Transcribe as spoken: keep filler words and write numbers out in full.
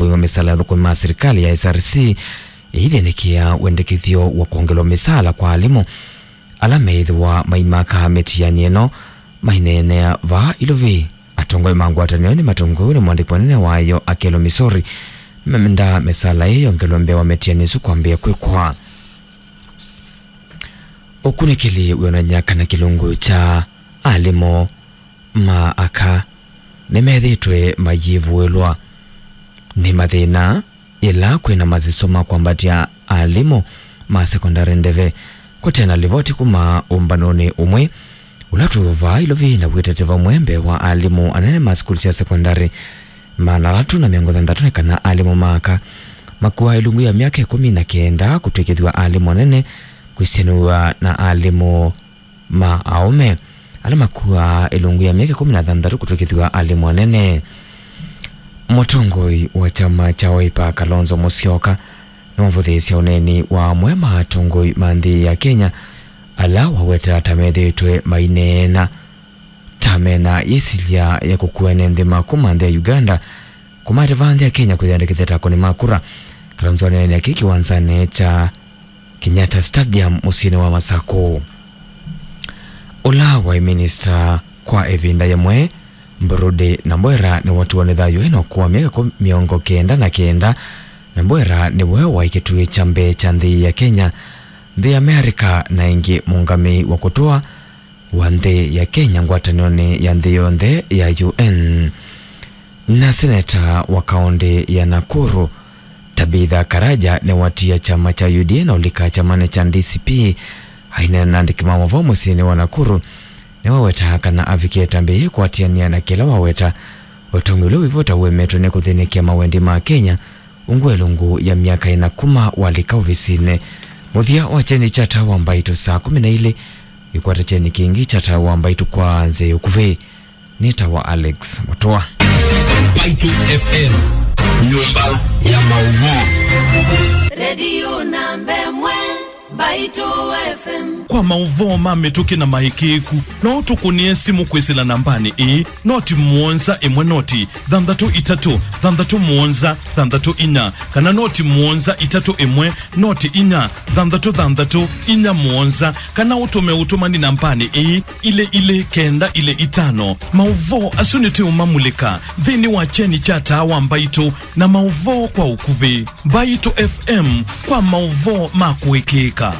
kũima mĩsaala ya athũkũmi ma sirikali ya S R C, ĩithĩnĩkĩa wendekethyo wa kwongelwa mĩsaala kwa alimũ ala meĩthĩwa maimaka mĩtiani ĩno. Maineenea vaa Ilovi, atongoi ma ngwatanĩo nĩmatongoew'e nĩ mwandĩki mũnene wayo Akello Misori nĩmamendaa mĩsaala ĩĩ yongelwe mbee wa mĩtiani ĩsu kwambĩĩa kwĩkwa. Ũkunĩkĩli wĩonany'a kana kĩlungu kya alimũ ma aka nĩmethĩĩtwe mayĩvũĩlwa nĩ mathĩna yĩla kwĩna masiso ma kwambatya alimũ ma sekondalĩ ndeve. Kũte na livoti kuma ũmbanonĩ ũmwe ũla twĩ vaa Ilovi na wĩtete vamwe mbee wa alimũ anene ma sukulu sya sekondalĩ maana atatũ na mĩongo thanthatũ nĩ kana alimũ ma aka makuaa ĩlungu ya myaka ĩkũmi na kenda kũtw'ĩkĩthw'a alimũ anene kwĩsĩanĩw'a na alimũ ma aũme ala makuaa ĩlungu ya myaka ĩkũmi na thanthatũ kũtw'ĩkĩthw'a alimũ anene. Mũtongoi wa kyama kya Wiper Kalonzo Musyoka nĩwavũthĩĩsya ũneeni wa amwe ma atongoi ma nthĩ ya Kenya ala waweta ta methĩĩtwe maineena ta mena yĩsilya ya kũkua ene nthĩ ma kuma nthĩ ya Uganda kũmatĩva nthĩ ya Kenya kwĩyandĩkĩthya ta akũni ma kura. Kalonzo aneenea kĩĩ kĩwanzanĩ kya Kenyatta Stadium mũsyĩnĩ wa Masakũ. Ũla waĩ minista kwa ĩvinda yĩmwe, Mburudi Nambwera, nĩwatiwa nĩ thayũ ena ũkũũ wa myaka mĩongo kenda na kenda. Nambwera nĩwe waĩ kĩtuĩ kya mbee kya nthĩ ya Kenya, nthĩ ya Amerika, na ĩngĩ mũũngamĩi wa kũtũa wa nthĩ ya Kenya ngwatanĩonĩ ya nthĩ yonthe ya U N. Na seneta wa kaũntĩ ya Nakuru, Tabitha Karaja, nĩwatia kyama kya U D A na ũlika kyamanĩ kya D C P. Aineena na andĩki ma maũvoo mũsyĩnĩ wa Nakuru, nĩwawetaa kana avikie ĩtambya yĩĩ kũatĩanĩa na kĩla waweta ũtongoi ũla wĩvo ta ũemetwe nĩ kũthĩnĩkĩa mawendi ma Kenya ungu ĩlungu ya myaka ĩna kuma walika ovisinĩ. Mũthya wa kyeni kya Taa wa Mbaitũ saa kũmi na ilĩ, ĩkwata kyeni kĩngĩ kya Taa wa Mbaitũ kwa nzĩa ya ũkuvĩ. Nĩtawa Alex Mũtũa. Mbaitũ F M, nyũmba ya maũvoo. Redio namba ĩmwe, Mbaitũ F M. Kwa maũvoo ma mĩtũkĩ na maĩkĩĩku, no ũtũkũnĩe simũ kwĩsĩla nambanĩ ĩĩ, noti mũonza ĩmwe noti thanthatũ itatũ thanthatũ mũonza thanthatũ inya, kana noti mũonza itatũ ĩmwe noti inya thanthatũ thanthatũ inya mũonza, kana ũtũme ũtũmani nambanĩ ĩĩ, ilĩ ilĩ kenda ilĩ itano. Maũvoo asu nĩtũũmamulĩka nthĩnĩ wa kyeni kya Taa wa Mbaitũ na maũvoo kwa ũkuvĩ. Mbaitũ F M kwa maũvoo ma kũĩkĩĩka.